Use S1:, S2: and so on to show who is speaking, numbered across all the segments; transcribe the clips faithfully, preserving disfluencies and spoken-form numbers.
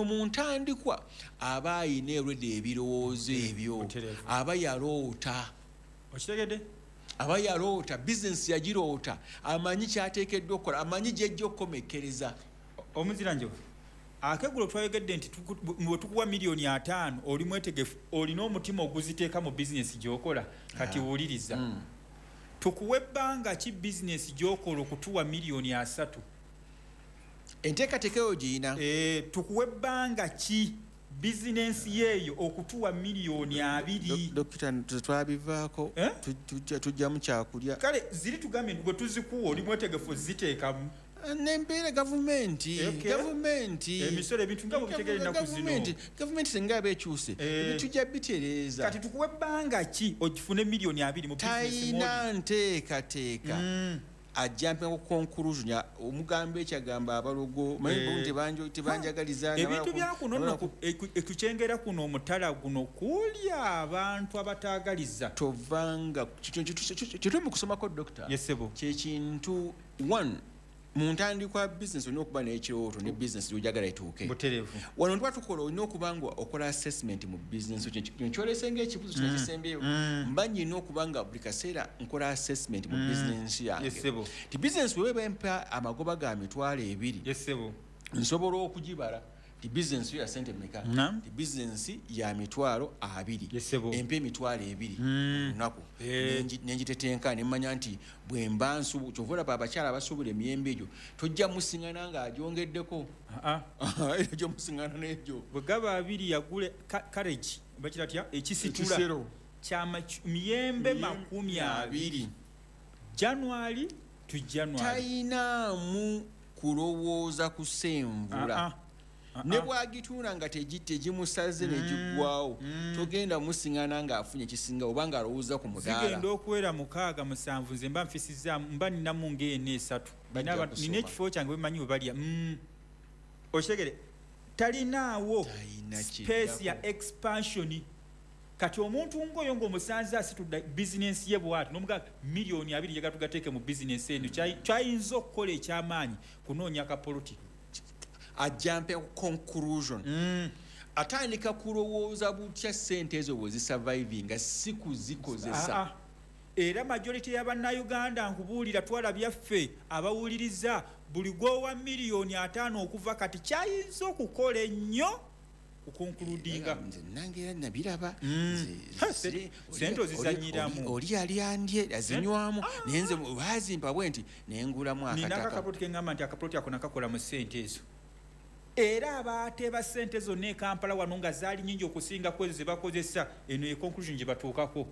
S1: Mu ntandikwa aba ayina erwedde ebirowoozo ebyo.
S2: Butereevu.
S1: Aba yaloota.
S2: Okitegedde?
S1: Aba yaloota bizinesi, yagiroota, amanyi kyateekeddwa okukola, amanyi gyejja okukomekkereza.
S2: Omuzira njovu akeggulo, twayogedde nti tuku- bwe tukuwa miliyoni ataano, oli mwetegefu, olina omutima oguziteeka mu bizinesi gy'okola. Kati wuliriza,
S1: Mm.
S2: tukuwa ebbanga ki bizinesi gy'okola okutuwa miliyoni asatu?
S1: Enteekateeka eyo giyina.
S2: Eh, tukuwa ebbanga ki bizinensi yeeyo okutuwa miliyoni abiri?
S1: Dokita, twabivaako.
S2: Eh?
S1: Tujjamu kyakulya.
S2: Kale ziri tugambye nti bwe tuzikuwa, oli mwetegefu ziteekamu?
S1: Nembeera gavumenti.
S2: Okay.
S1: Gavumenti.
S2: Emisolo, ebintu nga bwebitegera ennaku zino.
S1: Gavumenti, gavumenti singa aba ekyuse,
S2: Eh.
S1: tujja bitereeza.
S2: Kati tukuwa ebbanga ki ogifune miliyoni abiri mu bizinesi mwoli?
S1: Talina nteekateeka.
S2: Mm.
S1: Ajumpinga ku conclusion ya- omugamba ekyagamba abalogo.
S2: Eh.
S1: Manyi tebanjagaliza.
S2: Ebintu byakuno nno ku- eku- ekukyengera kuno, omutala guno kulya abantu abataagaliza.
S1: Tovanga kyetuli mu kusomako, dokita.
S2: Yes, ssebo.
S1: Kyekintu one, mu ntandikwa bizinesi olina okuba n'ekirooto ne bizinesi gyojagala etuuke.
S2: Butereevu.
S1: Wano tuba tukola, olina okuba nga okola assessment mu bizinesi. Kino kyolese nga ekibuzo kino kisembyeyo.
S2: Mm.
S1: Mba nyina okuba nga buli kaseera nkola assessment mu bizinesi yange.
S2: Yes, ssebo.
S1: Ti bizinesi weba empa amagoba ga mitwalo ebiri,
S2: Yes, ssebo.
S1: nsobola okugibala ti bizinesi yo ya sente meka?
S2: Naam.
S1: Ti bizinesi ya mitwalo abiri,
S2: Yes, ssebo.
S1: empa emitwalo ebiri
S2: Mm.
S1: lunaku,
S2: Eh.
S1: Nengi- nengitetenka nemanya nti bwemba nsubu, kyova olaba abakyala abasuubula emiyembe egyo tojja musiŋana ng'agyongeddeko.
S2: Ah, ah.
S1: Era gyomusiŋana n'egyo.
S2: Bwe gaba abiri, yagule ka- carriage bakira tya, ekisitula
S1: Ekisero.
S2: kyama miyembe makumi abiri, January to January.
S1: Tayinaamu kulowooza kusenvula.
S2: Ah, ah. Ah,
S1: Ne
S2: ah.
S1: bwagitunda nga tegi- tegimusaze negiggwawo, togenda musiŋana ng'afunye ekisinga oba ng'alowooza ku mudaala.
S2: Zigenda okuwera mukaaga, musanvu, nze mba nfisizaamu, mba ninamu ng'ena esatu.
S1: Bajja
S2: Nina aba-
S1: kusoma.
S2: Nina ekifo kyange wemanyi we balya. Mm. Okitegere, talinaawo
S1: Talina
S2: space ya
S1: kiddako.
S2: expansion. Kati omuntu ngaoyo ng'omusanze asitudde bizinensi ye bwati nomugaa miliyoni abiri njagala tugateeke mu bizinensi eno, Kyayi- kyayinza okukola ekyamaanyi kunoonya kapoloti.
S1: Ajumpe ku conclusion,
S2: Mm.
S1: atandika kulowooza butya sente ezo bwe zisurvivinga, si kuzikozesa.
S2: Ah, ah. Era majority y'abannayuganda, nkubuulira, twala byaffe abawuliriza, buli gwowa miliyoni ataano okuva kati, kyayinza okukola ennyo kuconcludinga.
S1: Nze nange era nabiraba.
S2: Mm.
S1: Nze-
S2: Ha,
S1: nze-
S2: sente- sente ozizanyiramu.
S1: oli- oli yali andye azinywamu, naye nze bazimpa bwe nti nengulamu
S2: Nina
S1: akataka.
S2: akakapoloti keŋŋamba nti akapoloti ako nakakola mu ssente ezo, era abateeba ssente zonna e Kampala wano nga zaali nyingi okusinga ku ezo ze bakozesa, eno ye conclusion gye batuukako.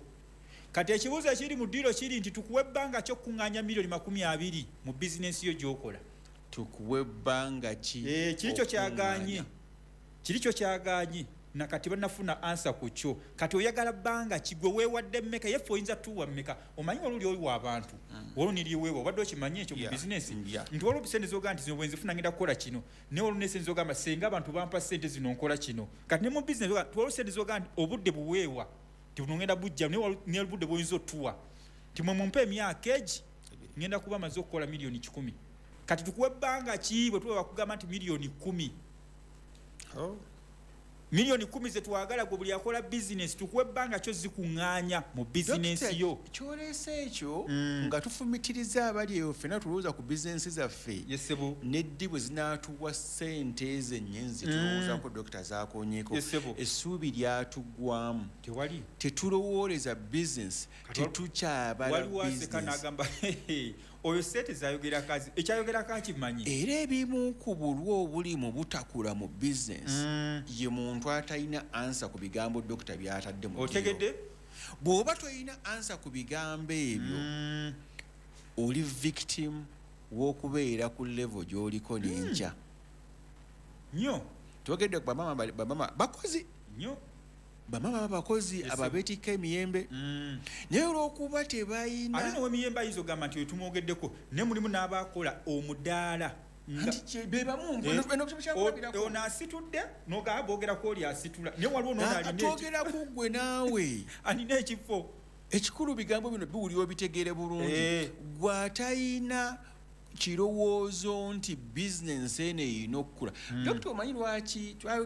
S2: Kati ekibuuzo ekiri mu ddiiro kiri nti tukuwa ebbanga kyokuŋŋaanya miliyoni makumi abiri mu bizinensi yo gy'okola?
S1: Tukuwa ebbanga ki?
S2: Eh, kiri kyo kyaganye.
S1: Okuŋŋaanya?
S2: Kiri kyo kyaganye, nakati banafuna answer ku kyo. Kati oyagala bbanga ki? Gwe weewadde mmeka? Yeffe oyinza tuwa mmeka? Omanyi wali oli oyiwa abantu, waliwo niriweewa, obadde okimanyi ekyo mu
S1: Yeah.
S2: bizinesi?
S1: Yeah.
S2: Nti waliwo sente zogamba nti zino bwenzifuna ngenda kukola kino, naye waliwo ne sente zogamba senga abantu bampa sente zino nkola kino. Kati ne mu bizinesi ogamba nti waliwo sente zogamba nti obudde buweewa nti buno ngenda bujja, naye waliwo ne obudde bwoyinza otuwa nti mwe mumpe emyaka egi ngenda kuba maze okukola miliyoni kikumi. Kati tukuwa ebbanga ki bwe tuba bakugamba nti miliyoni kumi?
S1: Oh.
S2: Miliyoni kumi zetwagala, gwe buli akola bizinesi, tukuwa ebbanga kyo zikuŋŋaanya mu bizinesi
S1: Dokita,
S2: yo?
S1: Kyoleese ekyo
S2: Mm.
S1: nga tufumitiriza abali eyo, ffenna tulowooza ku bizinesi zaffe
S2: Yes, ssebo.
S1: neddi bwe zinaatuwa ssente ezo ennyenzi tulowoozako. Dokita zaakonyeko.
S2: Yes, ssebo.
S1: Essuubi lyatuggwamu.
S2: Tewali.
S1: Tetulowooleza bizinesi.
S2: Kati wal-
S1: Tetukyabala
S2: waliwo aseka
S1: bizinesi.
S2: n'agamba oyo sente zayogera kazi, ekyayogerako akimanyi.
S1: Era ebimu ku bulwa obuli mu butakula mu bizinesi,
S2: Mm.
S1: ye muntu atalina answer ku bigambo dokita byatadde mu
S2: Otegedde?
S1: ddiiro. Bw'oba tolina answer ku bigambo ebyo,
S2: Mm.
S1: oli victim w'okubeera ku level gy'oliko n'enkya.
S2: Nnyo.
S1: Twogedde ku bamama, bali- bamama bakozi.
S2: Nnyo.
S1: Bamama babakozi
S2: Yes,
S1: ababeetikka emiyembe,
S2: Mm.
S1: naye olw'okuba
S2: Ate
S1: tebalina
S2: nowemiyembe ayinza ogamba nti oyo tumwogeddeko, naye mulimu n'abakola omudaala nga-
S1: Anti kye- be bamu.
S2: Eh,
S1: eno kyakulabirako.
S2: o- ono asitudde nogaba boogerako oli asitula, naye waliwo nono alina eki-
S1: Twogera ku ggwe naawe.
S2: Alina ekifo.
S1: Ekikulu bigambo bino biwulira obitegeere bulungi.
S2: Eh.
S1: Gwe atayina Kirowoozo nti bizinensi eno erina okukula. Dokita, omanyi lwaki?